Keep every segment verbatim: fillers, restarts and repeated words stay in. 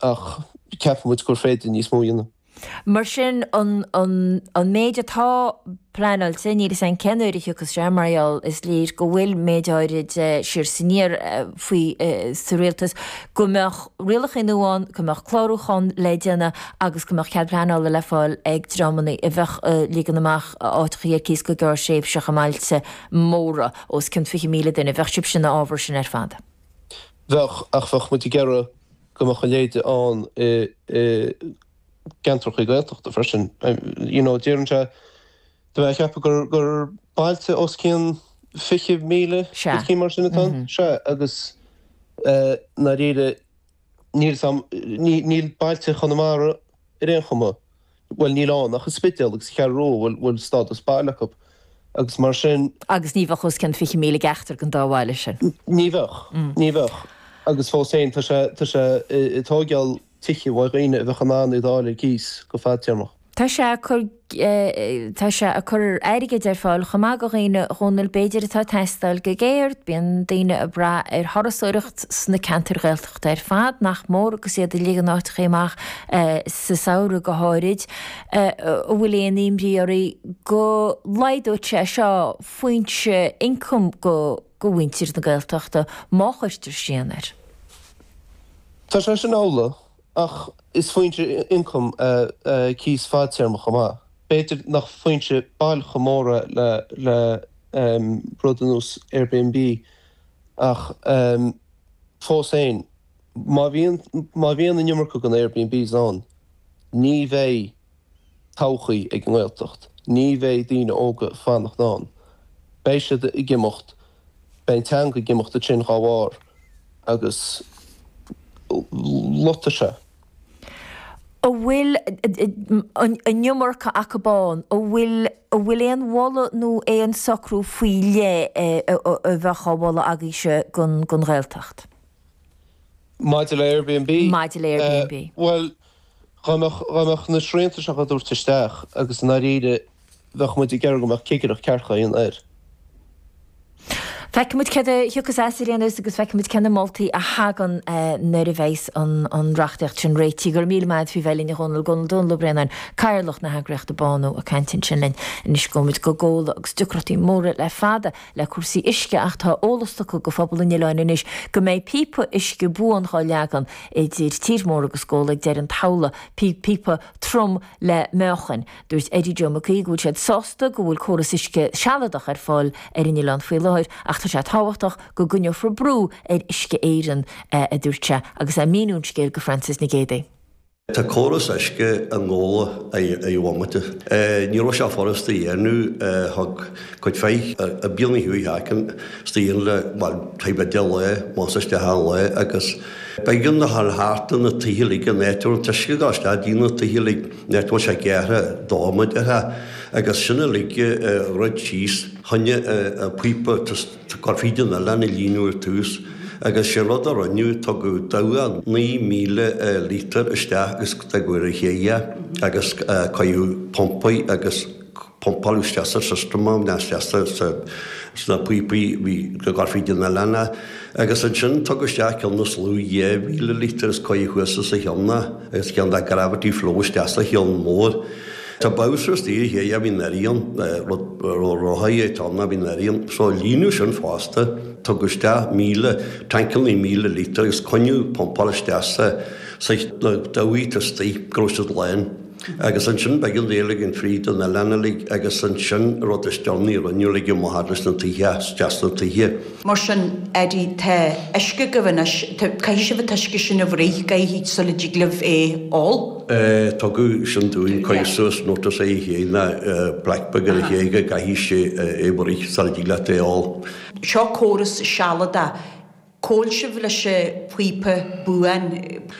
ach ceapann muid gur féidir níos mó a dhéanamh. Mar sin, an an méid atá pleanáilte, níl a fhios againn cén uair a thiocfas sé, mar gheall is léir go bhfuil méid áirid siar is aniar faoi sa rialtas, go mbeadh rialacha nua ann, go mbeadh clárúchán le déanamh agus go mbeadh cead pleanála le fáil ag dreamanna a bheadh ag ligean amach áiteacha ar cíos go gearrthréimhseach i mbailte móra os cionn fiche míle duine. Bheadh sibhse ina fhábhar sin ar fad. Bheadh, ach bheadh muid ag iarraidh go mbeadh a leithéid ann i gceantracha Gaeltachta freisin. You know, deireann sé, tá mé ag ceapadh gur gur bailte os cionn fiche míle, Sea. rud mar sin atá ann. Sea, agus i ndáiríre níl 's a'm, níl bailte Chonamara ar aon chuma, bhuel níl ann ach an Spidéal agus an Cheathrú Rua a bhfuil bhfuil stádas baile acu agus mar sin. Agus ní bheadh os cionn fiche míle ag ceachtar den dá bhaile sin. Ní bheadh, ní bheadh. Agus fós féin tá sé, tá sé ag tóigeáil tithe uaidh dhaoine a bheadh in ann iad a fháil ar cíos go fadtéarmach. Tá sé ag cur, tá sé ag cur airgid ar fáil chomh maith do dhaoine, a Dhónaill, b'fhéidir atá ag teastáil go géar. Bíonn daoine ag brath ar thurasóireacht sna ceantair Ghaeltachta ar fad, nach mór, agus iad ag ligean áiteachaí amach sa samhradh go háirid. An bhfuil aon imní oraibh go laghdóidh sé seo foinse ioncaim go go mhuintir na Gaeltachta má chuirtear srian air? Tá sé sin amhlaidh, ach is foinse ioncaim é cíos fadtéarmach chomh maith. B'fhéidir nach foinse bail chomh mór é le le rud ar nós Airbnb ach fós féin, má bhíonn má bhíonn an iomarca den Airbnbs ann, ní bheidh todhchaí ag an nGaeltacht, ní bheidh daoine óga ag fanacht ann. Beidh siad ag imeacht, beidh an teanga ag imeacht ansin dá bharr agus loitfidh sé. An bhfuil an iomarca acu ann? An bhfuil an bhfuil aon mholadh nó aon socrú faoi leith a bheadh á mholadh agaibhse don don Ghaeltacht? Maidir le Airbnb? Maidir le Airbnb. Bhuel, dá mbeadh dá mbeadh na srianta seo á dtabhairt isteach agus i ndáiríre bheadh muid ag iarraidh go mbeadh cigireacht ceart á dhéanamh air. Feicfidh muid céard a thiocfas as ar aon nós agus feicfidh muid cé na moltaí a thagann nuair a bheas an reachtaíocht sin réitithe. Go raibh míle maith agat faoi bheith linn a Dhónaill. Dónall Ó Braonáin, Cathaoirleach na heagraíochta Bánú ag caint ansin linn. Anois gabhfaidh muid go Gabhla agus deacrachtaí móra le fada le cúrsaí uisce ach tá eolas tugtha go phobal an oileáin anois go mbeidh píopa uisce buan dhá leagan idir Tír Mór agus Gabhla ag deireadh an tsamhla, píopa trom le meáchain. Dúirt Eddie Joe Mac Aoidh go bhfuil siad sásta go bhfuil córas uisce sealadach ar fáil ar an oileán faoi láthair ach tá sé tábhachtach go gcoinneofar brú ar Uisce Éireann, a dúirt sé agus é ag míniú an scéil go Frances Nic Géadaigh. Tá córas uisce i nGabhla ar bhomaite. Ní raibh sé furasta a dhéanamh. Thug cuid mhaith bliana chuaigh thart istigh le, bhuel, taobh le deich lá, más isteach an lá agus b'éigean do dhul thart do na tithe uilig an áit a raibh an t-uisce ag dul isteach dtí na tithe uilig, an áit a bhfuil sé gearrtha dó, mar a déarfá, agus sin uilig a dhruid síos. Choinnigh an píopa gur fríd an oileán a líonadh ar tús agus sé an rud a rinneadh, tugadh dabhach naoi míle lítear isteach agus tugadh ar a chéile agus cuireadh pumpaí agus pumpáladh isteach sa system é, nó isteach sna píopaí a bhí ag dul fríd an oileán é. Agus ansin tugadh isteach ceann níos lú dhá mhíle lítear is cuireadh thuas sa cheann é agus ceann de gravity flow isteach sa cheann mór. Tá bowser istigh ar chéidh a bhíonn ar an, rud rothaí atá ann a bhíonn ar an, so líonadh sin fosta. Tugadh isteach míle, tancannaí míle lítear agus coinníodh pumpáil isteach sa, sa, na dabhaigh istigh go raibh siad lán. Agus ansin b'éigean dul ag an fríd an oileán uilig agus ansin rud is deireanaí a rinneadh uilig amach fhad leis na tithe, isteach sna tithe. Mar sin, Eddie, tá uisce agaibh anois, tá, caithfidh sibh an t-uisce sin a bhruith, caithfidh, sula dtig libh é ól. Tugadh sin dúinn, cuireadh suas notice é féin ná plaic beag ar a chéile go gcaithfidh sé é bhruith sula dtig leat é ól. Seo córas sealadach. Cá bhfuil sibh leis an phíopa buan?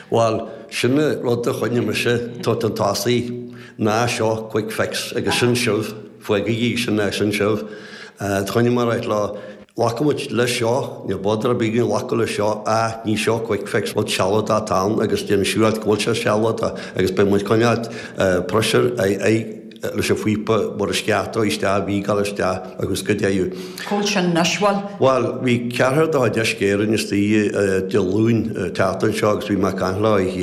Bhuel, sin an rud a choinnigh mise chun tosaigh, ná seo quick fix agus sin sibh, fágaigí sin é, sin sibh. Choinnigh mé ag ráit leo, glacfaidh muid leis seo, níl bother ar bith againn glacadh leis seo ach ní seo quick fix, rud sealadach atá ann agus déan siúráilt go bhfuil sé sealadach agus beidh muid ag coinneáilt pressure ar leis an phíopa mar is ceart dó isteach, a bhí ag dul isteach agus go dtéadh. Cá bhfuil sin anois, bhuel? Bhuel, bhí ceathrar de chuid Uisce Éireann istigh Dé Luain an tseachtain seo agus bhí mé ag caint leo.